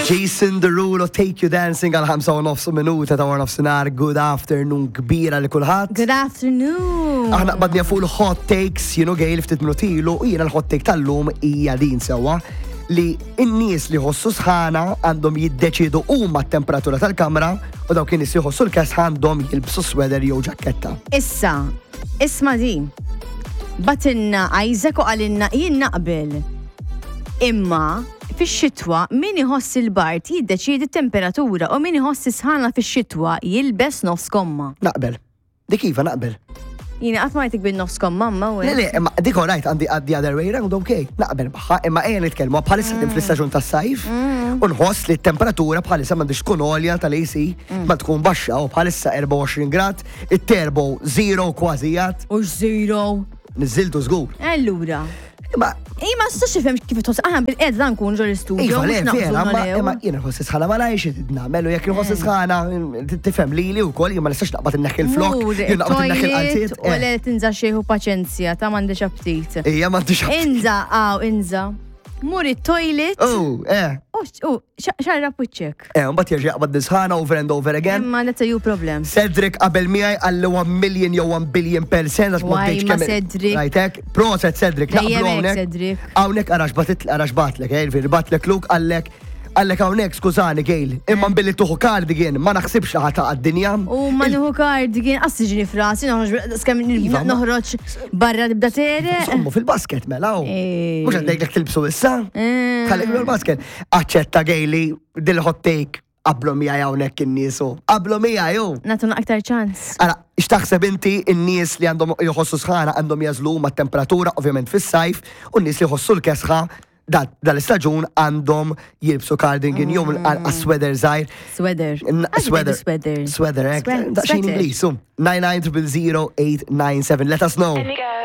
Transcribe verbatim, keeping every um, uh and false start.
Jason Derulo, Take You Dancing għal ħamsa u nofs minuta ta' nofsinhar. Good afternoon kbira li kulħadd. Good afternoon. Aħna qbadna fuq il-hot takes, you know, Gail, ftit minuti ilu, u jiena l-hot take tal-lum hija din sewwa li n-nies li jħossu sħana għandhom jiddeċidu huma t-temperatura tal-kamra u dawk in-nies li jħossu l-kesħa għandhom jilbsu sweater jew ġaketta. Issa, isma din. Bagħtilna Isaac u qalilna jien naqbel. Imma fix-xitwa min iħoss il-bard jiddeċiedi temperatura u min iħoss sħana fix-xitwa jilbes nofs komma. Naqbel. Dik iva naqbel. Jiena qatt ma rajtek bin-nofs komma ma u Le, le, imma dik alright, għandi the other way round, ok, naqbel magħha, imma ejja nitkellmu bħalissa mm. fl-istaġun tas-sajf u nħoss li t-temperatura bħalissa m'għandix tkun għolja tal-A C, ma tkun baxxa u bħalissa erbgħa u għoxrin grad, it-turbo zero kważi jgħat, U zero. Niżiltu żgur. Allura. Imma Ej, ma nistax nifhem kif tħoss. Aħna bil-qed dan nkun ġol studio. Iva, le, mhux naqbżu vera, ma nalew. imma jiena nħoss sħana ma lajx nagħmel u jekk nħoss sħana tifhem lili wkoll jien ma nistax naqbad inneħħi il-flok, Mur, jien naqbad inneħħi toilet il-qalziet. u le tinża xejħu paċenzja, ta' m'għandix aptit. Ija m'għandix aptit. Inża, għaw, inża. Mur it-toilet. Oh, eh. U u, xarra puċċek. Eh, mbagħad jerġa' jaqbad nisħana over and over again. Imma that's a you problem. Cedric qabel miegħi għalli one million jew one billion percent għax ma Waj, bdejtx ma kemm- Cedric. Rajtek, proset Cedric, Dejjem naqblu hekk, hawnhekk. Cedric. Hawnhekk arax batit arax batlek, eh, ġifieri batlek Luke għallek għallek hawnhekk skużani Gail, imma billi tuħu cardigan ma naħsibx li ħa taqa' d-dinja. U ma nieħu cardigan, qas ġini frasi, noħroġ, skem Iva, ma- noħroġ barra tibda tere. Sommu fil-basket mela. u. Eh. Mhux għandek tilbsu issa. Eh. Ħallik fil-basket. Aċċetta Gaili dil-hot take qablu miegħi hawnhekk in-nies u. Qablu miegħi ju. Nagħtuna aktar ċans. Ara, x'taħseb inti n-nies li għandhom jħossu sħana għandhom jagħżlu ma' temperatura, ovvjament fis-sajf, u n-nies li jħossu l-kesħa da- dal-istaġun għandhom jilbsu cardigan jew mm. sweater żgħir. Sweater. N- Għax Sweater. Sweater. Sweater, eh? Swe- Daqsxejn sweater. Ingliż, um. nine nine zero zero eight nine seven. Let us know. Any girl.